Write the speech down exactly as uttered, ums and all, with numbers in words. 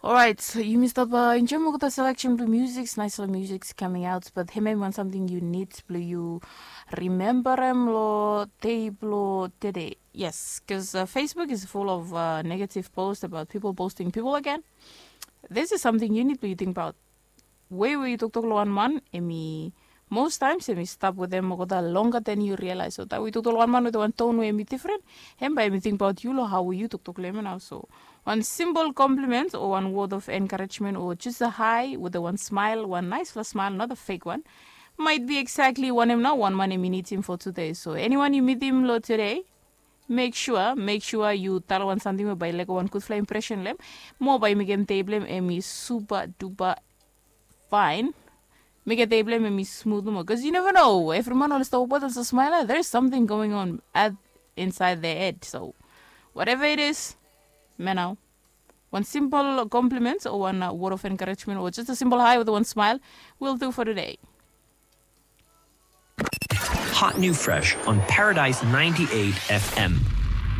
Orait, yumi stap enjoim olgeta seleksen blong musiks, naisfala musiks kaming aut, bat hemia em wan samting yu nid blong yu rimembarem long dei blong tede. Yes, bikos Facebook is full of negative post abaot pipol posting pipol agen. This is samting yu nid blong yu tingbaot. Wei we yu toktok long wan man, em i most times em i stap wetem olgeta longa den yu rialaes. So taem we yu toktok long wan man wetem wan ton we em i difren, hem bae em i tingbaot yu long hao we yu toktok long em nao. So wan simpol komplimen o wan wod of enkarejmen o jes a hai wetem wan smael, wan naesfala smael, not a fek wan, maet bi eksakli wanem nao wan man em i nidim fo tude. So eniwan yu mitim long tude, mek sua mek sua yu talem wan samting we bae i lego wan gudfala impresen long em, mo bae i mekem dei blong em em i supa dupa faen. Mekem dei blong em em i smut nomo, bikos yu neva no, evri man oli stap wokbaot oli smael ya, there is samting going on at inside their head. So whatever it is, man, nao wan simpol komplimen o wan wod of enkarejmen o jes a simpol hai wetem wan smael will do for today. Hot new fresh on Paradise ninety-eight F M.